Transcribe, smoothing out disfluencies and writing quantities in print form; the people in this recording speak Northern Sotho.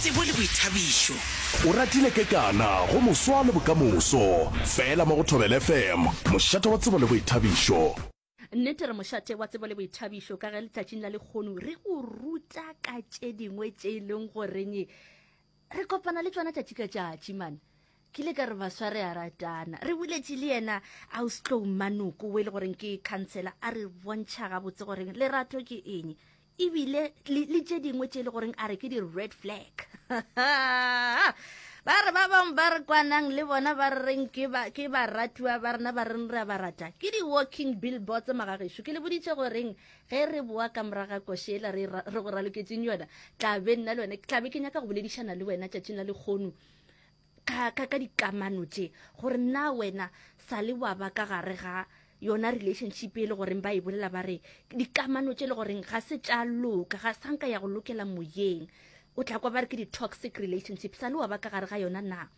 Tsebo le boithabišo. O ratile kekana go moswa le bokamoso. Fela mo go Thobela FM, mošate wa tsebo le boithabišo. Nnete re mošate wa tsebo le boithabišo ka ge letšatšing la lekgono re go ruta ka tše dingwe tše e leng goreng re kopana le tšona tšatši ka tšatši man. Ke ile ka re baswa re a ratana. Re boletše le yena Austlou Manoko o e le goreng ke khansela a re bontšha gabotse goreng lerato ke eng ebile le tše dingwe tše e le goreng a re ke di-red flag. Ba re ba bangwe ba re kwanang le bona ba re reng ke ba ke baratiwa ba rena ba reng re a ba rata ke di-walking billboards magagešo. Ke le boditše goreng ge re boa ka moraga košela re re go raloketseng yona tla be nna le wena ke tla be ke nyaka go boledišana le wena tšatšing la lekgono ka, ka, ka dikamano tše gore na wena sa le wa ba ka gare ga yona relationship e le goreng ba e bolela ba re dikamano tše le goreng ga se tša loka, ga sanka ya go lokela moyeng, o tla kwa ba re ke di-toxic relationship, sa le wa ba ka gare ga yona na?